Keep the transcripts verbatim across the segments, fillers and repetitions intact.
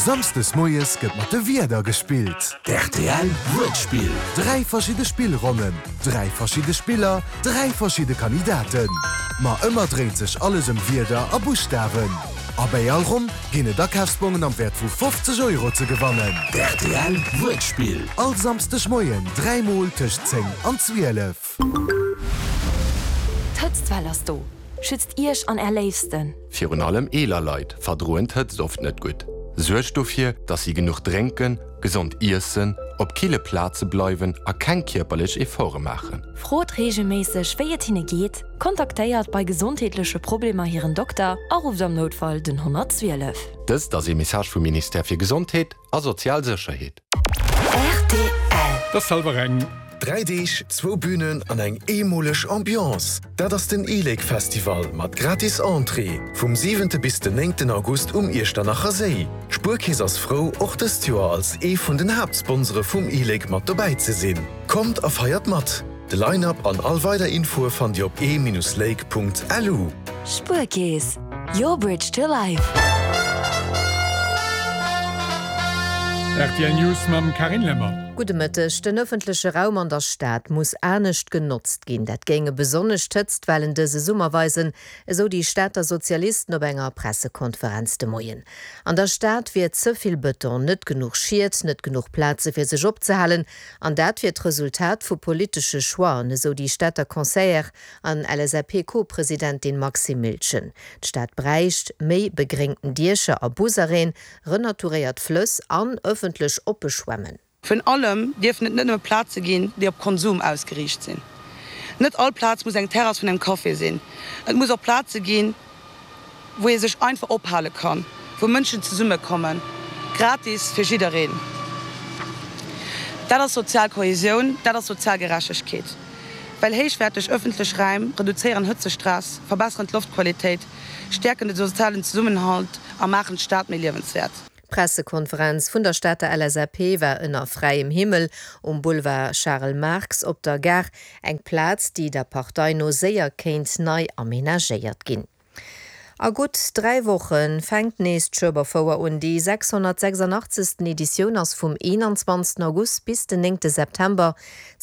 Samsdes moies gëtt mat de Wierder gespillt. R T L Wuertspill. Dräi verschidde Spillronnen, dräi verschidde Spiller, dräi verschidde Kandidaten. Ma ëmmer dréint sech alles ëm Wierder a Buschtawen. A bei all Ronn ginn et Akafsbongen am Wäert vu fofzeg Euro ze gewannen. R T L Wuertspill. All Samsdeg Moien dräimol tëscht zéng an zwielef. D'Hëtztwell ass do. Schützt Iech an är Léifsten. Virun allem eeler Leit verdroen d'Hëtzt oft net gutt. Suergt dofir, dass si genuch drénken, gesond iessen, op kille Plaze bleiwen a keng kierperlech Efforte maachen. Frot reegelméisseg, wéi et hinne geet, kontaktéiert bei gesondheetleche Problemer hiren Dokter a rufft am Noutfall den honnertzwielef. Dëst ass e Message vum Ministère fir Gesondheet a sozial Sécherheet. R T L. Dat ass hallwer eng. Dräi Deeg, zwou Bünen an eng eemoleg Ambiance. Dat ass den e-Lake Festival mat gratis Entrée vum siwente bis den néngten August um Iechternacher Séi. D'Spuerkeess ass frou, och dëst Joer als ee vun den Haaptsponsore vum e-Lake mat dobäi ze sinn. Kommt a feiert mat! De Line-Up an all weider Infoe fannt Dir op e-lake Punkt L U. Spuerkeess, your bridge to life. R T L News mam Carine Lemmer. Gudde Mëtteg. Den ëffentleche Raum an der Stad muss anescht genotzt ginn. Dat géinge besonnesch d'Hëtztwellen dëse Summer weisen, esou déi Stater Sozialisten op enger Pressekonferenz de Moien. An der Stad wier ze vill Bëton, net genuch Schied, net genuch Plaze fir sech opzehalen. An dat wier d'Resultat vu politesche Choixen, esou déi Stater Conseillère an L S A P-Co-Presidentin Maxime Miltgen. D'Stad bräicht méi begréngten Diecher a Busarrêten, renaturéiert Flëss an ëffentlech oppe Schwämmen. Virun allem dierfen et net nëmme Plaze ginn, déi op Konsum ausgeriicht sinn. Net all Plaz muss eng Terrass vun engem Café sinn. Et muss och Plaze ginn, wou ee sech einfach ophale kann, wou Mënschen zesummekommen, gratis fir jiddereen. Dat ass sozial Kohesioun, dat ass sozial Gerechtegkeet. Well héichwäerteg ëffentlech Raim reduzéieren Hëtzestress, verbesseren d'Loftqualitéit, stäerken de sozialen Zesummenhalt a maachen d'Stad méi liewenswäert. D'Pressekonferenz vun der Stater L S A P war ënner fräiem Himmel um Boulevard Charles Marx op der Gare, eng Plaz, déi der Partei no séier kéint nei amenagéiert ginn. A gutt dräi Woche fänkt nees d'Schueberfouer un. Déi sechshonnertsechsandachtzegsten. Editioun ass vum eenanzwanzegsten. August bis den néngte. September.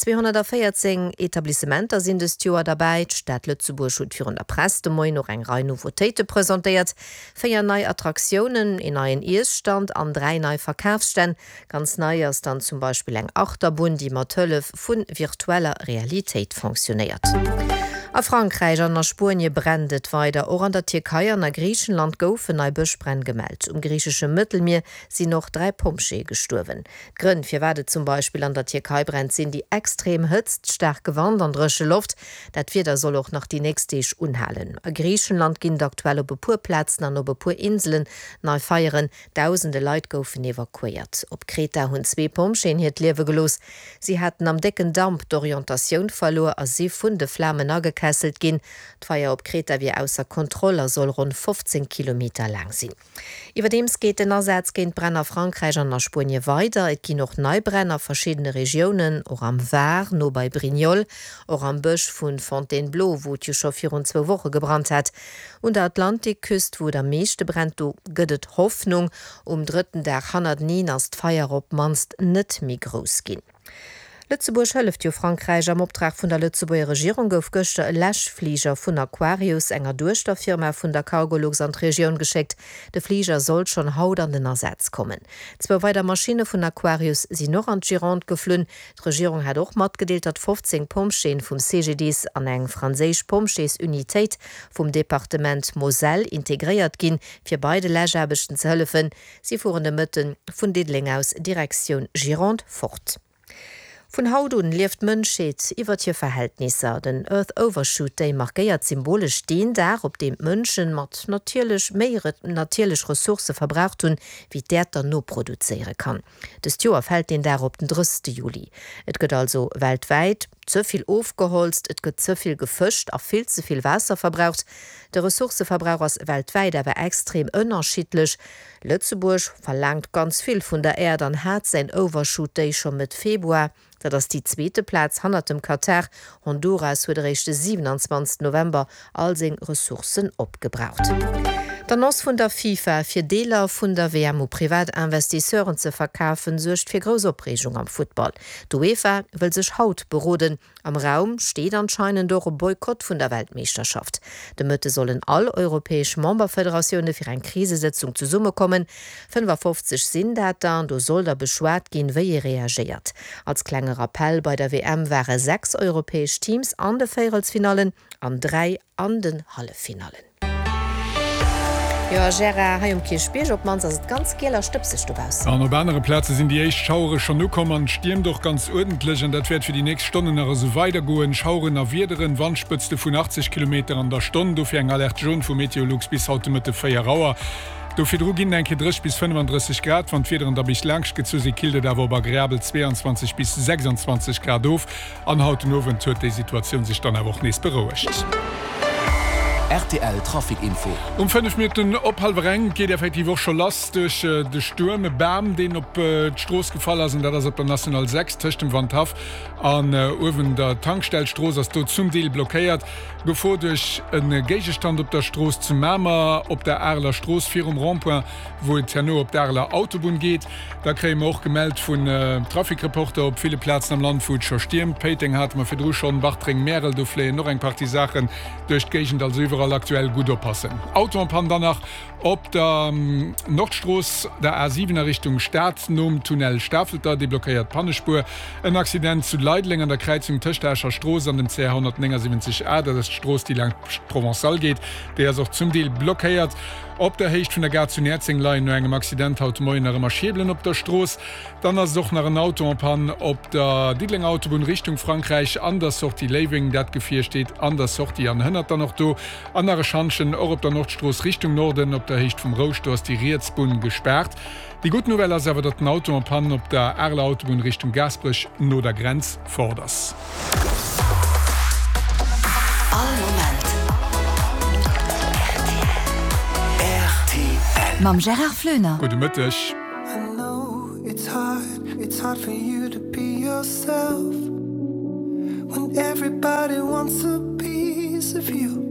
Zweehonnertvéierzéng Etablissementer sinn dëst Joer derbäi. D'Stad Lëtzebuerg huet virun der Press de Moien nach eng Rei Nouveautéite presentéiert. Véier nei Attraktiounen, een neien Iesstand an dräi nei Verkafsstänn. Ganz nei ass dann zum Beispill eng Achterbunn, déi mat Hëllef vu virtueller Realitéit funktionéiert. A Frankräich an a Spuenie brennt et weider. Och an der Tierkei an a Griichenland goufen nei Bëschbränn gemellt. Um griichesche Mëttelmier sinn och dräi Pompjeeë gestuerwen. Grënn firwat et zum Beispill an der Tierkei brennt, sinn déi extrem Hëtzt, staarke Wand an dréche Loft. Dat Wieder soll och nach déi nächst Deeg unhalen. A Griichenland ginn aktuell op e puer Plazen an op e puer Inselen nei Feieren. Dausende Leit goufen evakuéiert. Op Kreta hunn zwee Pompjeeën hiert Liewe gelooss. Si haten am décken Damp d'Orientatioun verluer a si vun de Flamen agekesselt ginn. D'Feier op Kreta wier ausser Kontroll a soll ronn fofzéng Kilometer laang sinn. Iwwerdeems geet den Asaz géint d'Bränn a Frankräich an a Spuenie weider. Et ginn och nei Bränn a verschiddene Regiounen, och am Var, no bei Brignoles, och am Bësch vun Fontainebleau, wou et jo scho virun zwou Woche gebrannt hat. Un der Atlantikküst, wou et am meeschte brennt, do gëtt et Hoffnung. Um drëtten Dag hannerteneen ass d'Feier op d'mannst net méi grouss ginn. Lëtzebuerg hëlleft jo Frankräich. Am Optrag vun der Lëtzebuerger Regierung gouf gëschter e Läschfliger vun Aquarius, enger Duechterfirma vun der Cargolux, an d'Regioun geschéckt. De Fliger soll schonn haut an den Asaz kommen. Zwou weider Maschinne vun Aquarius sinn och an d'Gironde geflunn. D'Regierung hat och matgedeelt, datt fofzéng Pompjeeën vum C G D I S an eng franséisch Pompjeesunitéit vum Departement Moselle integréiert ginn, fir bei de Läschaarbechten ze hëllefen. Si fueren de Mëtte vun Diddeleng aus Direktioun Gironde fort. Vun haut un lieft d'Mënschheet iwwer hir Verhältnisser. Den Earth Overshoot Day markéiert symbolesch deen Dag, op deem d'Mënsche mat natierlech méi natierlech Ressourcë verbraucht hunn, wéi d'Äerd der noproduzéiere kann. Dëst Joer fält deen Dag op den drëssegste. Juli. Et gëtt also weltwäit ze vill ofgeholzt, et gëtt ze vill gefëscht a vill ze vill Waasser verbraucht. De Ressourcëverbrauch ass weltwäit awer extrem ënnerschiddlech. Lëtzebuerg verlaangt ganz vill vun der Äerd an hat säin Overshoot Day scho Mëtt Februar. Dat ass déi zweete Plaz hannert dem Katar. Honduras huet eréischt de siewenundzwanzegsten. November all seng Ressourcen opgebraucht. D'Annonce vun der FIFA, fir Deeler vun der WM u privat Investisseuren ze verkafen, suergt fir grouss Opreegung am Futtball. D'UEFA wëll sech haut beroden. Am Raum steet anscheinend och e Boykott vun der Weltmeeschterschaft. De Mëtte sollen all europäesch Memberfederatioune fir eng Krisesëtzung zesummekommen. fënnefafofzeg sinn dat der, an do soll da beschwat ginn, wéi ee reagéiert. Als klenge Rappell, Bei der WM ware sechs europäesch Teams an de Véierelsfinallen an dräi an den Halleffinallen. Jo Gérard, hei um Kierchbierg op d'mannst ass et ganz giel a stëbseg dobaussen. An op anere Plaze sinn déi éischt Schauere schonn ukomm an et stiermt och ganz uerdentlech an dat wäert fir déi nächst Stonnen nach esou weidergoen. Schaueren a Wiederen, Wandspëtzte vun achtzeg Kilometer an der Stonn, dofir eng Alerte jaune vu Meteolux bis haut de Mëtte véier Auer. Do virdru ginn et eng Kéier dréisseg bis fënnefandrësseg Grad. Wann d'Wiederen da bis laanscht gezu sinn, killt et awer op agreabel zweeanzwanzeg bis sechsandzwanzeg Grad of. An haut den Owend huet déi Situatioun sech dann awer och nees berouegt. Rtl Trafic Info. Um fënnef Minutten op hallwer eng geet effektiv och scho lass duerch de Stuerm. E Bam, deen op d'Strooss gefall ass, an dat ass op der National sechs tëscht dem Wandhaff an uewen der Tankstell. D'Strooss ass do zum Deel blockéiert. Gefor duerch e Géigestand op der Strooss zu Mamer, op der Areler Strooss virum Rond-point, wou et herno op d'Areler Autobunn geet. Da kréie mer och gemellt vun Trafic-Reporter op ville Plazen am Land, wou et scho stiermt. Péiteng hate mer virdru schonn, Bartreng, Märel, do fléien och eng Partie Saachen duerch d'Géigend. Also iwwerall aktuell gutt oppassen. Auto en panne dann nach op der Nordstrooss, der A siwen a Richtung Stad, nom Tunnel Stafelter, deblockéiert Pannespuer. En Accident zu Leideleng an der Kräizung tëscht der Escher Strooss an dem C R honnertnéngasiwwenzeg A, dat ass d'Strooss déi laanscht d'Provençale geet, déi ass och zum Deel blockéiert. Op der Héicht vun der Gare zu Näerzeng leien no engem Accident haut de Moien nach ëmmer Schierbelen op der Strooss. Dann ass et och nach en Auto en panne op der Diddelenger Autobunn Richtung Frankräich an der Sortie Léiweng. Dat Gefier steet an der Sortie an hënnert dann och do. An nach e Schantjen och op der Nordstrooss Richtung Norden op der Héicht vum Rousch, do ass déi riets Bunn gespaart. Déi gutt Nouvelle ass awer, datt den Auto en panne op der Areler Autobunn Richtung Gaasperech no der Grenz fort ass. All Moment rtl. Mam Gérard Floener. Gudde Mëtteg. I know it's hard, it's hard for you to be yourself When everybody wants a piece of you.